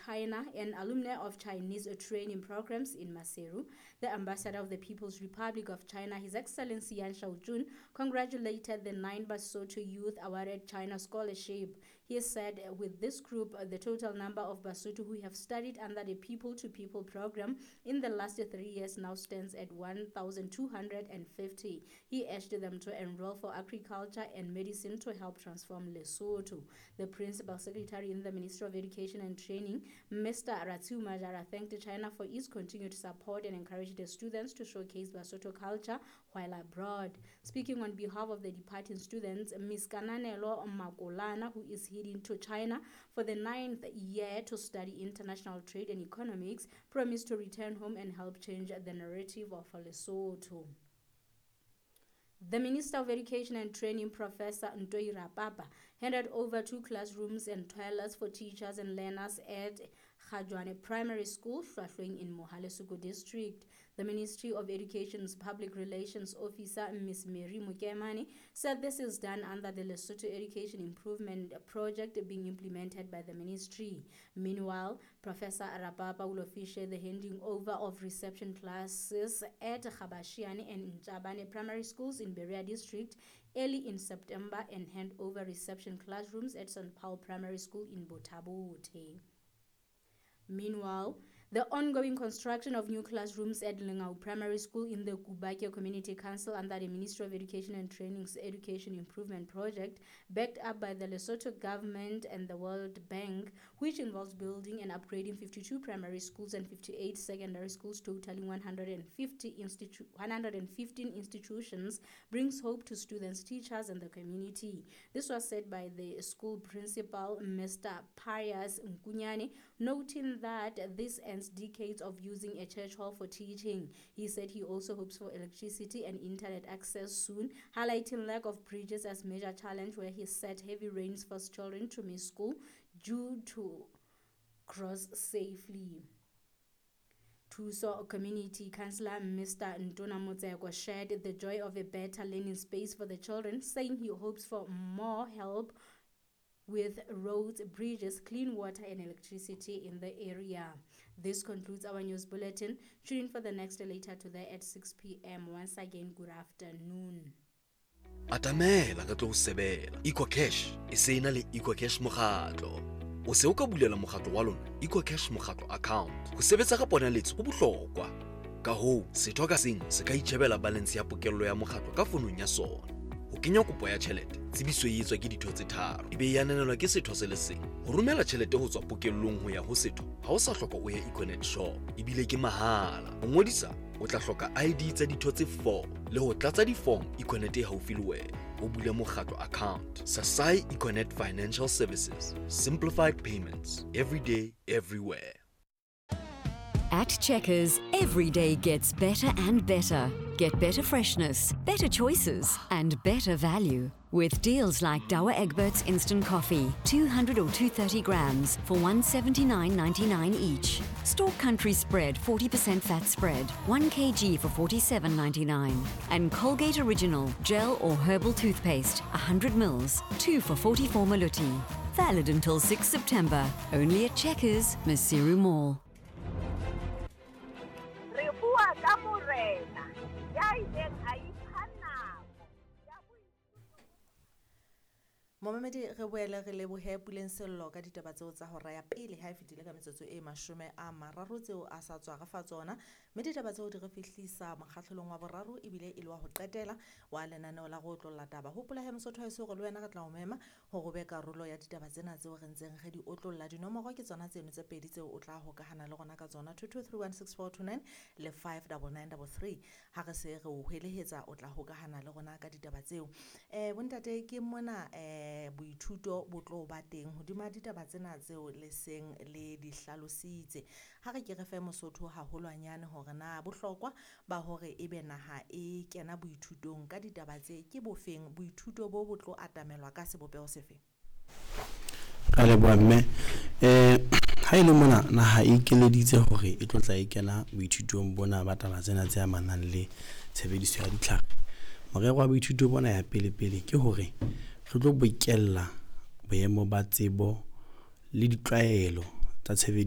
China and alumni of Chinese training programs in Maseru. The ambassador of the People's Republic of China, His Excellency Yan Shaojun, congratulated the 9 Basotho youth awarded China scholarship. He said with this group, the total number of Basotho who have studied under the People to People program in the last 3 years now stands at 1,250. He urged them to enroll for agriculture and medicine to help transform Lesotho. The principal secretary in the Ministry of Education and Training, Mr. Ratiu Majara, thanked China for its continued support and encouraged the students to showcase Basotho culture while abroad. Speaking on behalf of the departing students, Ms. Kananelo Makolana, who is heading to China for the 9th year to study international trade and economics, promised to return home and help change the narrative of Lesotho. The Minister of Education and Training, Professor Ntoi Rapapa, handed over 2 classrooms and toilets for teachers and learners at Khajwane Primary School, Hlwahlweng in Mohale Suku District. The Ministry of Education's Public Relations Officer, Ms. Mary Mukemane, said this is done under the Lesotho Education Improvement Project being implemented by the ministry. Meanwhile, Professor Rapapa will officiate the handing over of reception classes at Khabashiane and Nchabane Primary Schools in Berea District early in September and hand over reception classrooms at St. Paul Primary School in Bothabote. Meanwhile, the ongoing construction of new classrooms at Lengau Primary School in the Kubake Community Council under the Ministry of Education and Training's Education Improvement Project, backed up by the Lesotho government and the World Bank, which involves building and upgrading 52 primary schools and 58 secondary schools, totaling 115 institutions, brings hope to students, teachers, and the community. This was said by the school principal, Mr. Pius Nkunyane, noting that this ends decades of using a church hall for teaching. He said he also hopes for electricity and internet access soon, highlighting lack of bridges as major challenge, where he said heavy rains force children to miss school due to cross safely. Thuso Community Councillor Mr. Ntona Motseko shared the joy of a better learning space for the children, saying he hopes for more help with roads, bridges, clean water and electricity in the area. This concludes our news bulletin. Tune in for the next later today at 6 p.m. Once again, good afternoon. Atamela ka tlo sebela. EcoCash e se ena le EcoCash mokgatlo. O se o ka bulela mokgatlo wa lona EcoCash mokgatlo account. Ho sebetsa ka ponaletso ho bohlokwa. Ka hoo, setho ka seng se ka itjhebela balance ya pokello ya mokgatlo ka fonong ya sona. Ho kenya kopo ya tjhelete, tsebiso e etswa ke ditho tse 3, ebe e ananelwa ke setho se le seng. Ho romela tjhelete ho tswa pokellong ho ya ho setho, ha o sa hloka o ye Econet shop, ebile ke mahala. Ho ngodisa, o tla hloka ID tsa ditho tse 4 le ho tlatsa di-form Econet e haufi le wena. O bule mokgatlo account. Sasai Econet Financial Services. Simplified payments. Every day, everywhere. At Checkers, every day gets better and better. Get better freshness, better choices, and better value. With deals like Douwe Egberts Instant Coffee, 200 or 230 grams for $179.99 each. Stork Country Spread 40% fat spread, 1 kg for $47.99. And Colgate Original Gel or Herbal Toothpaste, 100 mils, 2 for 44 maluti. Valid until 6 September. Only at Checkers, Maseru Mall. Re bua ka morena ya ileng a ipha nako ya Momamedi re boele re lebohe Puleng Sello ka ditaba tseo tsa hora ya pele ha e fetile ka metsotso e 30 tseo a sa tswa re fa tsona, mme ditaba tseo di re fihlisa mokgahlelong wa boraro ebile e le wa ho qetela wa lenaneo la go otlolla taba. Hopola he Mosotho haeso hore le wena re tla o mema hore o be karolo ya ditaba tsena tseo re ntseng re di otlolla. Dinomoro ke tsona tseno tse pedi tseo o tla hokahana le rona ka tsona, 22316429 le 59933. Ha re se re o hwelehetsa o tla hokahana le rona ka ditaba tseo. Bontate ke mona boithuto bo tlo ba teng hodima ditaba tsena tseo le seng le di hlalositse. Ha re ke re fe Mosotho haholwanyane hore na bohlokwa ba hore ebe naha e kena boithutong ka ditaba tse ke bofeng, boithuto bo tlo atamelwa ka sebopeho sefe? Ka leboha mme. Ha e le mona naha e ikeleditse hore e tlo tla e kena boithutong bona ba taba tsena tse amanang le tshebediso ya ditlhare. Morero wa boithuto bona ya pele pele ke hore re tlo bokella boemo ba tsebo le ditlwaelo tsa tshebediso